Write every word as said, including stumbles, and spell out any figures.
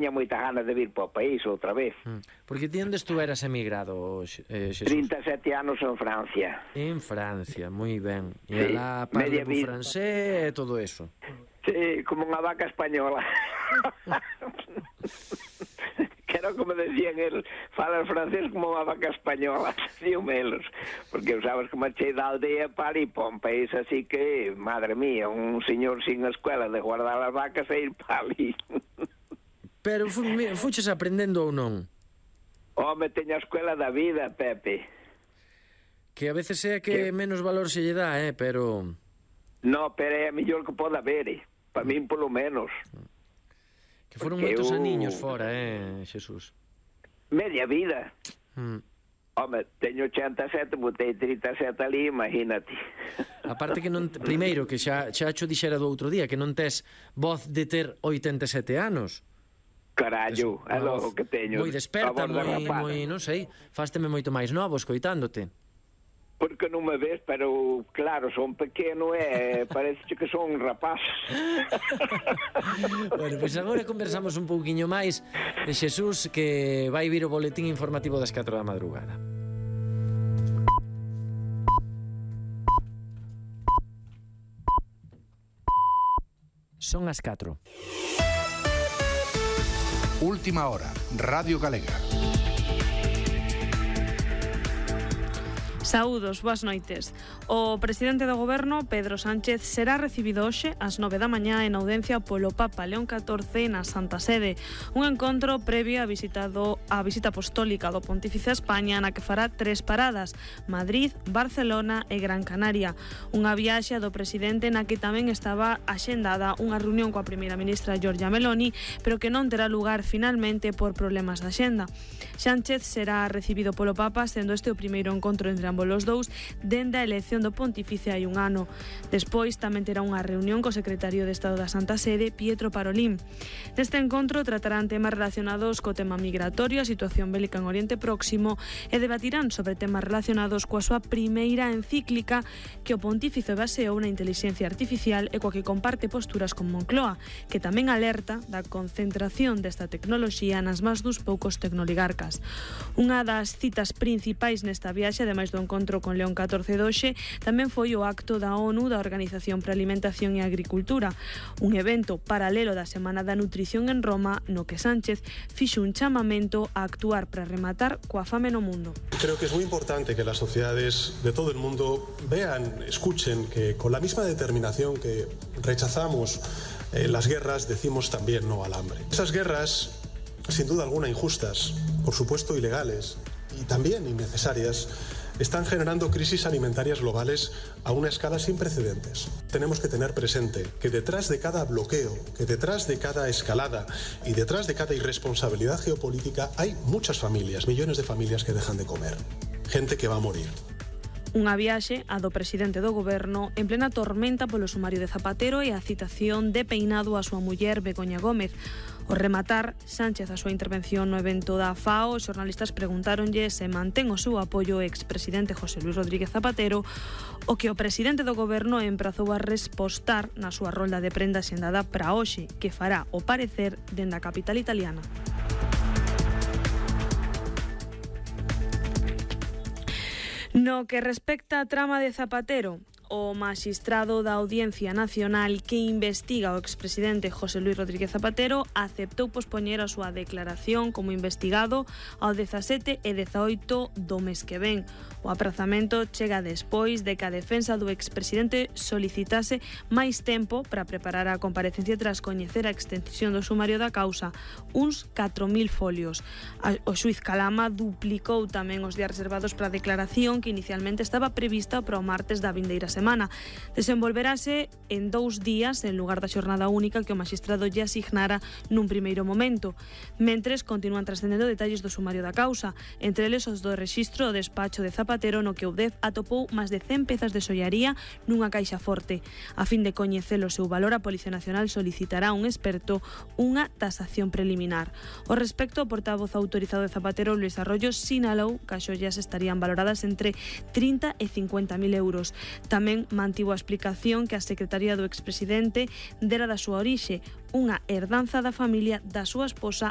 tiña moita ganas de vir para o país outra vez. Mm. Porque ti onde estuveras emigrado, eh, Xesús? trinta e sete anos en Francia. En Francia, moi ben. E Sí, alá media parle vida. francés e todo eso. Sí, como unha vaca española. Que era como decían el, fala francés como unha vaca española, diu melos, porque sabes que marchei da aldea para ir para un país así que, madre mía, un señor sin escuela de guardar as vacas e ir para ali. Pero fu, fuches aprendendo ou non? Home, teño a escuela da vida, Pepe. Que a veces é que, que... menos valor se lle dá, eh, pero... No, pero é a mellor que poda haber, eh. Para min polo menos. Que foron porque moitos eu... aniños fora, eh, Xesús? Media vida. Mm. Home, teño ochenta e sete, botei trinta e sete ali, imagínate. Aparte que non... Te... Primeiro, que xa, xa cho dixera do outro día, que non tes voz de ter oitenta e sete anos. Carallo, é logo que teño. Moi desperta, moi, moi, non sei, fásteme moito máis novo escoitándote. Porque non me ves, pero claro, son pequeno e parece que son un rapaz. Bueno, pois pues agora conversamos un pouquiño máis de Xesús, que vai vir o boletín informativo das catro da madrugada. Son as catro. Última hora, Radio Galega. Saúdos, boas noites. O presidente do goberno, Pedro Sánchez, será recibido hoxe ás nove da mañá en audiencia polo Papa León catorce na Santa Sede. Un encontro previo a, visitado, a visita apostólica do Pontífice a España, na que fará tres paradas: Madrid, Barcelona e Gran Canaria. Unha viaxe do presidente na que tamén estaba axendada unha reunión coa primeira ministra Giorgia Meloni, pero que non terá lugar finalmente por problemas de axenda. Sánchez será recibido polo Papa, sendo este o primeiro encontro entre ambos os dous dende a elección do Pontífice hai un ano. Despois tamén terá unha reunión co secretario de Estado da Santa Sede, Pietro Parolin. Neste encontro tratarán temas relacionados co tema migratorio, a situación bélica en Oriente Próximo, e debatirán sobre temas relacionados coa súa primeira encíclica que o Pontífice baseou na inteligencia artificial e coa que comparte posturas con Moncloa, que tamén alerta da concentración desta tecnoloxía nas mans dos poucos tecnoligarcas. Unha das citas principais nesta viaxe, ademais do encontro con León catorce doxe, tamén foi o acto da ONU da Organización para a Alimentación e Agricultura, un evento paralelo da Semana da Nutrición en Roma, no que Sánchez fixo un chamamento a actuar para rematar coa fame no mundo. Creo que es muy importante que las sociedades de todo el mundo vean, escuchen que con la misma determinación que rechazamos eh, las guerras, decimos también no al hambre. Esas guerras, sin duda alguna injustas, por supuesto ilegales y también innecesarias, están generando crisis alimentarias globales a una escala sin precedentes. Tenemos que tener presente que detrás de cada bloqueo, que detrás de cada escalada y detrás de cada irresponsabilidad geopolítica hay muchas familias, millones de familias que dejan de comer, gente que va a morir. Unha viaxe a do presidente do goberno en plena tormenta polo sumario de Zapatero e a citación de peinado a súa muller Begoña Gómez. Ao rematar Sánchez a súa intervención no evento da FAO, os xornalistas preguntáronlle se mantén o seu apoio ao expresidente José Luis Rodríguez Zapatero, o que o presidente do goberno emprazou a respostar na súa rolda de prenda xendada para hoxe, que fará o parecer dende a capital italiana. No que respecta a trama de Zapatero, o maxistrado da Audiencia Nacional que investiga o expresidente José Luis Rodríguez Zapatero aceptou pospoñer a súa declaración como investigado ao dezasete e dezaoito do mes que ven. O aprazamento chega despois de que a defensa do expresidente solicitase máis tempo para preparar a comparecencia tras coñecer a extensión do sumario da causa, uns catro mil folios. O xuiz Calama duplicou tamén os días reservados para a declaración que inicialmente estaba prevista para o martes da vindeira semana. semana. Desenvolverase en dous días en lugar da xornada única que o maxistrado lle asignara nun primeiro momento. Mentres, continúan trascendendo detalles do sumario da causa, entre eles os do rexistro do despacho de Zapatero no que o U D E F atopou máis de cen pezas de xollaría nunha caixa forte. A fin de coñecer o seu valor, a Policía Nacional solicitará a un experto unha tasación preliminar. O respecto, o portavoz autorizado de Zapatero, Luis Arroyo, sinalou que as xollas estarían valoradas entre trinta e cincuenta mil euros. Tamén tamén mantivo a explicación que a Secretaría do expresidente dera da súa orixe, unha herdanza da familia da súa esposa